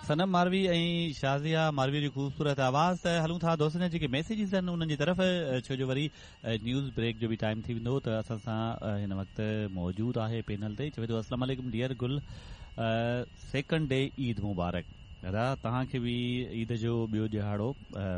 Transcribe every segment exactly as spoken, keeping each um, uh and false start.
सनम मारवी ऐं शाज़िया मारवी जी ख़ूबसूरत आवाज़। त हलूं था दोस्तनि जा जेके मैसेजिस आहिनि उन्हनि जी तरफ़, छो जो वरी न्यूज़ ब्रेक जो बि टाइम थी वेंदो। त असां सां हिन वक़्तु मौजूदु आहे पैनल ते, चवे थो अस्सलाम वालेकुम डियर गुल, सेकंड डे ईद मुबारक। अदा तव्हांखे बि ईद जो ॿियो ॾिहाड़ो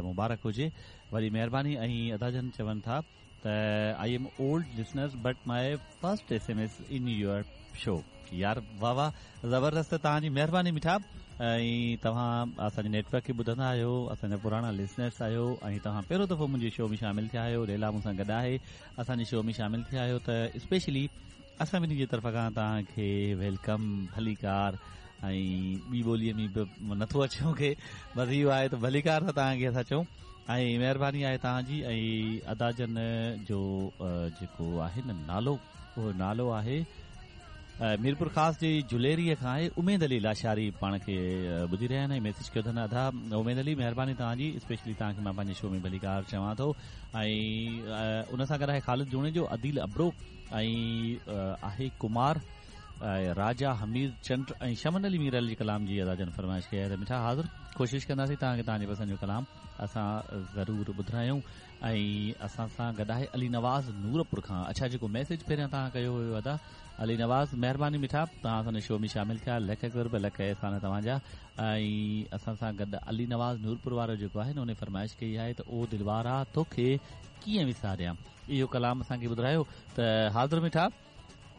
मुबारक हुजे, वॾी महिरबानी। ऐं अदा जन चवनि था त I am old listeners but my first S M S in your show. यार वाह वाह, ज़बरदस्त, तव्हांजी महिरबानी मिठा। ऐं तव्हां असांजे नेटवर्क खे ॿुधंदा आहियो, असांजा पुराणा लिसनर्स आहियो ऐं तव्हां पहिरियों दफ़ो मुंहिंजे शो में शामिल थिया आहियो, लैला मूंसां गॾु आहे, असांजे शो में शामिल थिया आहियो, त स्पेशली असां ॿिन्ही जे तरफ़ खां तव्हांखे welcome, भलीकार। ऐं ॿी ॿोलीअ में बि नथो अचे मूंखे, बसि इहो आहे त भलीकार था तव्हांखे असां चऊं ऐं महिरबानी आहे तव्हांजी। ऐं अदा जन जो जेको आहे न नालो, उहो नालो आहे मीरपुर ख़ास जी जुलेरीअ खां आहे, उमेद अली लाशारी पाण खे ॿुधी रहिया आहिनि ऐं मैसेज कयो अथनि। अदा उमेद अली, महिरबानी तव्हांजी, स्पेशली तव्हांखे मां पंहिंजे शो में भलीकार चवां थो। ऐं उन सां गॾु आहे ख़ालिद जुणेजो, अदील अब्रो ऐं आहे कुमार, राजा हमीर चंड ऐं शमन अली मीरल जी कलाम जी अदा जन फरमाइश कई आहे। त मिठा हाज़िर, कोशिशि कंदासीं तव्हांखे तव्हांजी पसंदि जो कलाम असां ज़रूरु ॿुधारायूं। ऐं असां सां गॾु आहे अली नवाज़ नूरपुर खां। अच्छा, जेको मैसेज पहिरियां तव्हां कयो हुयो अदा अली नवाज़, महिरबानी मिठा, तव्हां असांजे शो में शामिल थिया, लख क़ुर्ब लख अहसान तव्हांजा। ऐं असां सां गॾु अली नवाज़ नूरपुर वारो जेको आहे न, उन फरमाइश कई आहे त ओ दिलवारा तोखे कीअं विसारियां, इहो कलाम असांखे ॿुधायो। त हाज़िर मिठा,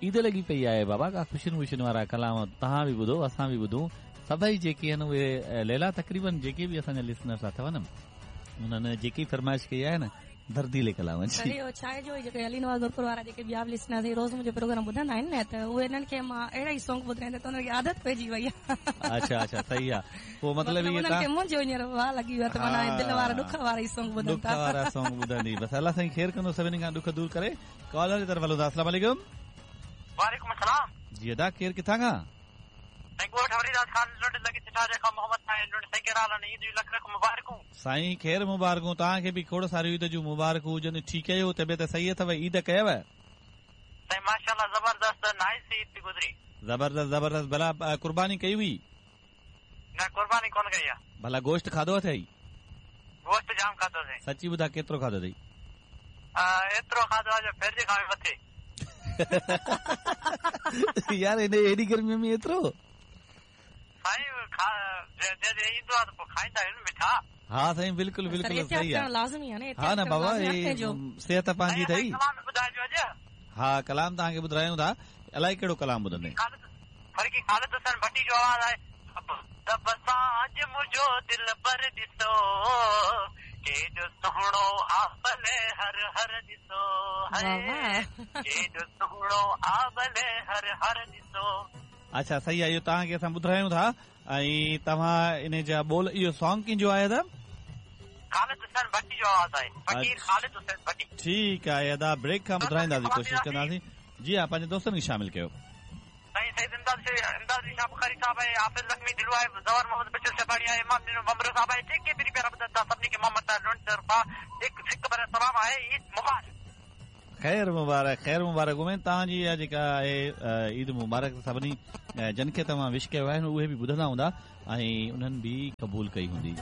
ईद लॻी पई आहे बाबा, का ख़ुशियुनि वुशियुनि वारा कलाम तव्हां बि ॿुधो, असां बि ॿुधूं। सभई जेके आहिनि उहे लैला, तक़रीबन जेके बि असांजा लिसनर्स अथव न, उन्हनि जेकी फरमाइश कई आहे न दर्दीले कलाम जी। अरे छा आहे जो जेके अली नवाज़ नूरपुर वारा जेके ॿिया बि लिसनर्स रोज़ मुंहिंजो प्रोग्राम ॿुधंदा आहिनि न, त उहे इन्हनि खे मां अहिड़ा ई सॉन्ग ॿुधाईंदा त उन्हनि खे आदत पइजी वई आहे। अच्छा अच्छा, सही आहे। पोइ मतिलबु इहे उन्हनि खे मुंहिंजो हींअर वाह लॻी वियो आहे त माना दिलि वारा ॾुख वारा ई सॉन्ग ॿुधनि था, ॾुख वारा सॉन्ग ॿुधंदी। बसि अलाह साईं ख़ैर कंदो, सभिनी खां ॾुख दूर करे। कॉलर जी तरफ़ हलूं था। अस्सलाम वालेकुम। वालेकुम अस्सलाम। जी अदा, केरु किथां खां? साईं ॻोठ हरिदास खान लुंड लॻी सिठारे खां मोहम्मद साईं लुंड। साईं कहिड़ा हाल आहिनि? ईद जूं लख लख मुबारकूं। साईं ख़ैर मुबारकूं, तव्हांखे बि खोड़ सारियूं ईद जूं मुबारकूं हुजनि। ठीकु आहियो? तबियत सही अथव? ईद कयव? साईं माशाअल्लाह ज़बरदस्त, नाइस ईद थी गुज़री। ज़बरदस्त ज़बरदस्त। भला कुर्बानी कई हुई? न, कुर्बानी कोन कई आहे। भला गोश्त खाधो अथई? गोश्त जाम खाधोसीं। सची ॿुधा, केतिरो खाधो अथई? एतिरो खाधो आहे जो फ्रिज खां बि मथे। यार हिन एॾी गर्मीअ में एतिरो? साईं जॾहिं ईंदो आहे त पोइ खाईंदा आहियूं न मिठा। हा साईं, बिल्कुलु बिल्कुलु सही आहे, लाज़मी आहे न। हा न बाबा, सिहत पंहिंजी अथई। कलाम ॿुधाइजो अॼु। हा कलाम तव्हांखे ॿुधायूं था। अलाए कहिड़ो कलाम ॿुधंदे? फर्की ख़ालिद हुसैन भट्टी जो आवाज़ आहे। दब सां अॼु मुंहिंजो दिल पर ॾिसो, केॾो सुहिणो आबले हर हर ॾिसो, केॾो सुहिणो आबले हर हर ॾिसो। अच्छा सही आहे, इहो तव्हांखे असां ॿुधायूं था। ऐं तव्हां इन जा ॿोल, इहो सॉन्ग कंहिंजो आहे अदा? ख़ालिद हुसैन भट्टी जो आवाज़ आहे, फ़क़ीर ख़ालिद हुसैन भट्टी। ठीकु आहे अदा, ब्रेक खां ॿुधाईंदासीं, कोशिशि कंदासीं। जी हा, पंहिंजे दोस्तनि खे शामिल कयो। साईं सैयद इमदाद इमदाद अली शाह बुखारी साहब आहे, हाफ़िज़ लखमी दिलू आहे, ज़वर मोहम्मद बशीर शबाणी आहे, इमाम ॾिनो बमरो साहब आहे, जेके बि प्यारा ॿुधनि था सभिनी खे मोहम्मद लुंड तरफ़ां हिकु सिक भरियल सलाम आहे। ईद मुबारक। ख़ैर मुबारक, ख़ैर मुबारक। उमेद तव्हांजी इहा जेका आहे ईद मुबारक सभिनी जन खे तव्हां विश कयो आहे उहे बि ॿुधंदा हूंदा ऐं उन्हनि बि क़बूल कई हूंदी।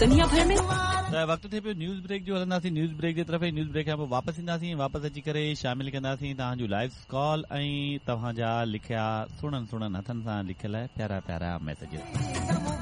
दुनिया भर में त वक़्तु थिए पियो न्यूज़ ब्रेक जो, हलंदासीं न्यूज़ ब्रेक जे तरफ़। न्यूज़ ब्रेक खां पोइ वापसि ईंदासीं, वापसि अची करे शामिल कंदासीं तव्हांजूं लाइव कॉल ऐं तव्हांजा लिखिया सुहिणनि सुहिणनि हथनि सां लिखियल प्यारा प्यारा मैसेज।